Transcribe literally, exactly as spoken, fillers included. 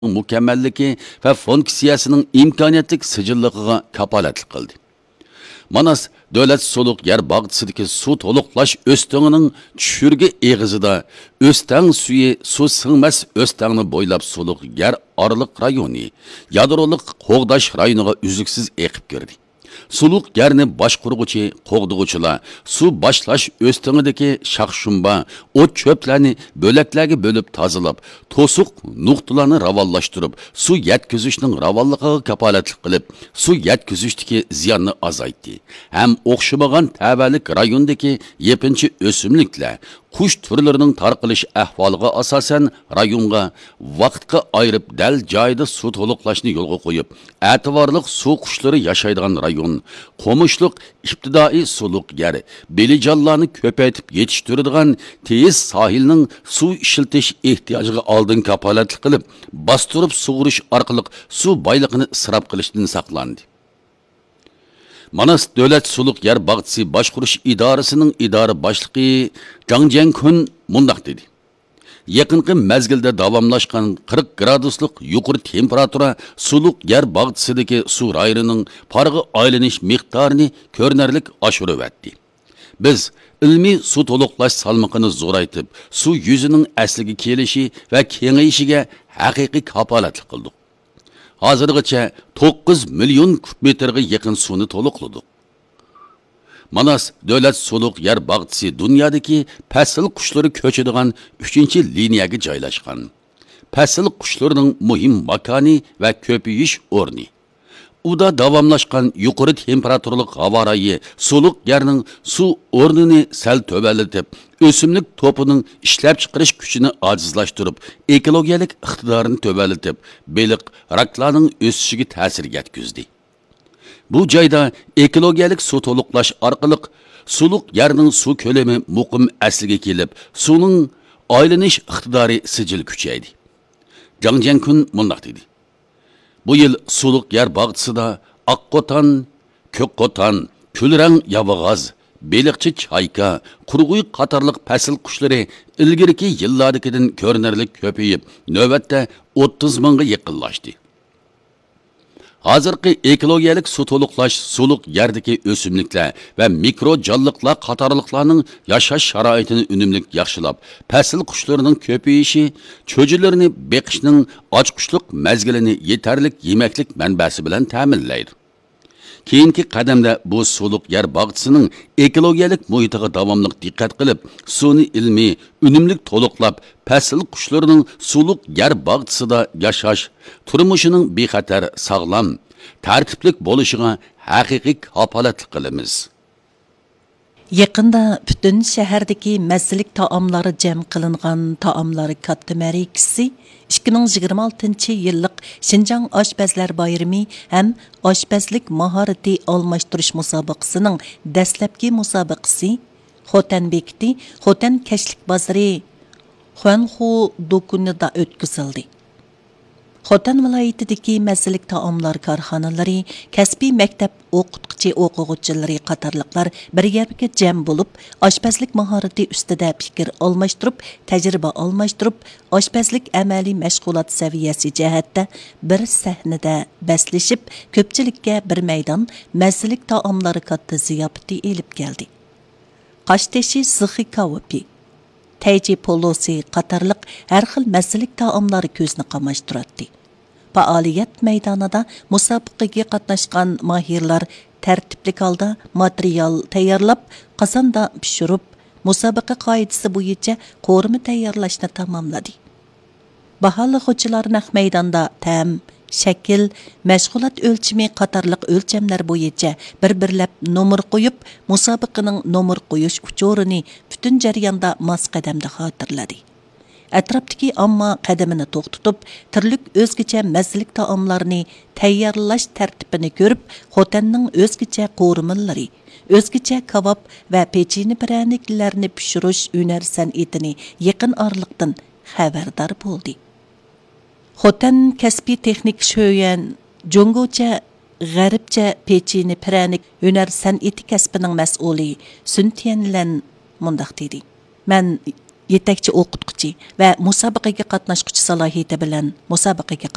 مۇكەممەللىكى ۋە فۇنكسىيەسىنىڭ ئىمكانىيەتلىك سىجىللىقىغا كاپالەتلىك قىلدى. ماناس دۆلەت سۇلۇق يەر باغچىسىدىكى سۇ تولۇقلاش ئۆستىڭىنىڭ چۈشۈرگە ئېغىزىدا ئۆستەڭ سۈيى سۇ سىڭمەس ئۆستەڭنى بويلاپ سۇلۇق يەر ئارىلىق رايونى، يادرولۇق قوغداش رايونىغا ئۈزلۈكسىز ئېقىپ كىردى. سۇلۇق يەرنى باشقۇرغۇچى، قوغدىغۇچىلار سۇ باشلاش ئۆستىڭىدىكى شاخ-شۇمبا، ئوت-چۆپلەرنى بۆلەكلەرگە بۆلۈپ تازىلاپ، توسۇق نۇقتىلارنى راۋانلاشتۇرۇپ، سۇ يەتكۈزۈشنىڭ راۋانلىقىغا كاپالەتلىك قىلىپ، سۇ يەتكۈزۈشتىكى زىياننى ئازايتتى ھەم ئوخشىمىغان تەۋەلىك رايوندىكى يېپىنچا ئۆسۈملۈكلەر، قۇش تۈرلىرىنىڭ تارقىلىش ئەھۋالىغا ئاساسەن، رايونغا ۋاقىتقا ئايرىپ، دەل جايىدا سۇ تولۇقلاشنى يولغا قويۇپ، ئەتىۋارلىق سۇ قۇشلىرى ياشايدىغان رايون، قومۇشلۇق ئىپتىدائىي سۇلۇق يەر، بېلىجانلارنى كۆپەيتىپ يېتىشتۈرىدىغان تېيىز ساھىلنىڭ سۇ ئىشلىتىش ئېھتىياجىغا ئالدىن كاپالەتلىك قىلىپ، باستۇرۇپ سۇغۇرۇش ئارقىلىق سۇ بايلىقىنى ئىسراپ قىلىشتىن ساقلاندى. ماناس دۆلەت سۇلۇق يەر باغچىسى باشقۇرۇش ئىدارىسىنىڭ ئىدارە باشلىقى جاڭ جيەنكۈن مۇنداق دېدى: يېقىنقى مەزگىلدە داۋاملاشقان قىرىق گرادۇسلۇق يۇقىرى تېمپېراتۇرا سۇلۇق يەر باغچىسىدىكى سۇ رايونىنىڭ پارغا ئايلىنىش مىقدارىنى كۆرۈنەرلىك ئاشۇرۇۋەتتى. بىز ئىلمىي سۇ تولۇقلاش سالمىقىنى زورايتىپ، سۇ يۈزىنىڭ ئەسلىگە كېلىشى ۋە كېڭىيىشىگە ھەقىقىي كاپالەتلىك قىلدۇق. ھازىرغىچە توققۇز مىليون كۇب مېتىرغا يېقىن سۇنى تولۇقلىدۇق. ماناس دۆلەت سۇلۇق يەر باغچىسى دۇنيادىكى پەسىل قۇشلىرى كۆچىدىغان ئۈچىنچى لىنىيەگە جايلاشقان. پەسىل قۇشلىرىنىڭ مۇھىم ماكانى ۋە كۆپىيىش ئورنى. ئۇدا داۋاملاشقان يۇقىرى تېمپېراتۇرىلىق ھاۋا رايى سۇلۇق يەرنىڭ سۇ ئورنىنى سەل تۆۋەنلىتىپ، ئۆسۈملۈك توپىنىڭ ئىشلەپچىقىرىش كۈچىنى ئاجىزلاشتۇرۇپ، ئېكولوگىيەلىك ئىقتىدارىنى تۆۋەنلىتىپ، بېلىق، راكلارنىڭ ئۆسۈشىگە تەسىر يەتكۈزدى. بۇ جايدا ئېكولوگىيەلىك سۇ تولۇقلاش ئارقىلىق سۇلۇق يەرنىڭ سۇ كۆلىمى مۇقىم ئەسلىگە كېلىپ، سۇنىڭ ئايلىنىش ئىقتىدارى سىجىل كۈچەيدى. جاڭ جيەنكۈن مۇنداق دېدى: بۇ يىل سۇلۇق يەر باغچىسىدا ئاق قوتان، كۆك قوتان، كۈلرەڭ ياۋىغاز، بېلىقچى چايكا، قۇرغۇي قاتارلىق پەسىل قۇشلىرى ئىلگىرىكى يىللاردىكىدىن كۆرۈنەرلىك كۆپىيىپ، نۆۋەتتە ئوتتۇز مىڭغا يېقىنلاشتى. ھازىرقى ئېكولوگىيەلىك سۇ تولۇقلاش سۇلۇق يەردىكى ئۆسۈملۈكلەر ۋە مىكرو جانلىقلار قاتارلىقلارنىڭ ياشاش شارائىتىنى ئۈنۈملۈك ياخشىلاپ، پەسىل قۇشلىرىنىڭ كۆپىيىشى، چۈجىلىرىنى بېقىشنىڭ ئاچقۇچلۇق مەزگىلىنى يېتەرلىك يېمەكلىك مەنبەسى بىلەن تەمىنلەيدۇ. كېيىنكى قەدەمدە بۇ سۇلۇق يەر باغچىسىنىڭ ئېكولوگىيەلىك مۇھىتىغا داۋاملىق دىققەت قىلىپ، سۇنى ئىلمىي، ئۈنۈملۈك تولۇقلاپ، پەسىل قۇشلىرىنىڭ سۇلۇق يەر باغچىسىدا ياشاش، تۇرمۇشىنىڭ بىخەتەر، ساغلام، تەرتىپلىك بولۇشىغا ھەقىقىي كاپالەتلىك قىلىمىز. يېقىندا پۈتۈن شەھەردىكى مەززىلىك تائاملار جەم قىلىنغان تائاملار كاتتا مەرىكىسى، ئىككى مىڭ يىگىرمە ئالتىنچى يىللىق شىنجاڭ ئاشپەزلەر بايرىمى ھەم ئاشپەزلىك ماھارىتى ئالماشتۇرۇش مۇسابىقىسىنىڭ دەسلەپكى مۇسابىقىسى خوتەن بېكىتى، خوتەن كەچلىك بازىرى، خۇەنخۇ دۇكىنىدا ئۆتكۈزۈلدى. خوتەن ۋىلايىتىدىكى مەززىلىك تائاملار كارخانىلىرى، كەسپىي مەكتەپ ئوقۇتقۇچى ئوقۇغۇچىلىرى قاتارلىقلار بىر يەرگە جەم بولۇپ، ئاشپەزلىك ماھارىتى ئۈستىدە پىكىر ئالماشتۇرۇپ، تەجرىبە ئالماشتۇرۇپ، ئاشپەزلىك ئەمەلىي مەشغۇلات سەۋىيەسى جەھەتتە بىر سەھنىدە بەسلىشىپ، كۆپچىلىككە بىر مەيدان مەززىلىك تائاملار كاتتا زىياپىتى ئېلىپ كەلدى. قاشتېشى زىخى كاۋىپى، تەيجى پولۇسى قاتارلىق ھەر خىل مەززىلىك تائاملار كۆزنى قاماشتۇراتتى. پائالىيەت مەيدانىدا مۇسابىقىگە قاتناشقان ماھىرلار تەرتىپلىك ھالدا ماتېرىيال تەييارلاپ، قازاندا پىشۇرۇپ، مۇسابىقە قائىدىسى بويىچە قورۇما تەييارلاشنى تاماملىدى. باھالىغۇچىلار نەق مەيداندا تەم، شەكىل، مەشغۇلات ئۆلچىمى قاتارلىق ئۆلچەملەر بويىچە بىر-بىرلەپ نومۇر قويۇپ، مۇسابىقىنىڭ نومۇر قويۇش ئۇچۇرىنى پۈتۈن جەرياندا ماس قەدەمدە خاتىرىلىدى. ئەتراپتىكى ئامما قەدىمىنى توختىتىپ، تۈرلۈك ئۆزگىچە مەززىلىك تائاملارنى تەييارلاش تەرتىپىنى كۆرۈپ، خوتەننىڭ ئۆزگىچە قورۇمىلىرى، ئۆزگىچە كاۋاپ ۋە پېچىنە پىرەنىكلەرنى پىشۇرۇش ھۈنەر سەنئىتىنى يېقىن ئارىلىقتىن خەۋەردار بولدى. خوتەن كەسپىي تېخنىك شۆيۈەن جۇڭگوچە، غەربچە پېچىنە پىرەنىك ھۈنەر سەنئىتى كەسپىنىڭ مەسئۇلى سۈن تيەنلەن مۇنداق دېدى: مەن يېتەكچى ئوقۇتقۇچى ۋە مۇسابىقىگە قاتناشقۇچى سالاھىيىتى بىلەن مۇسابىقىگە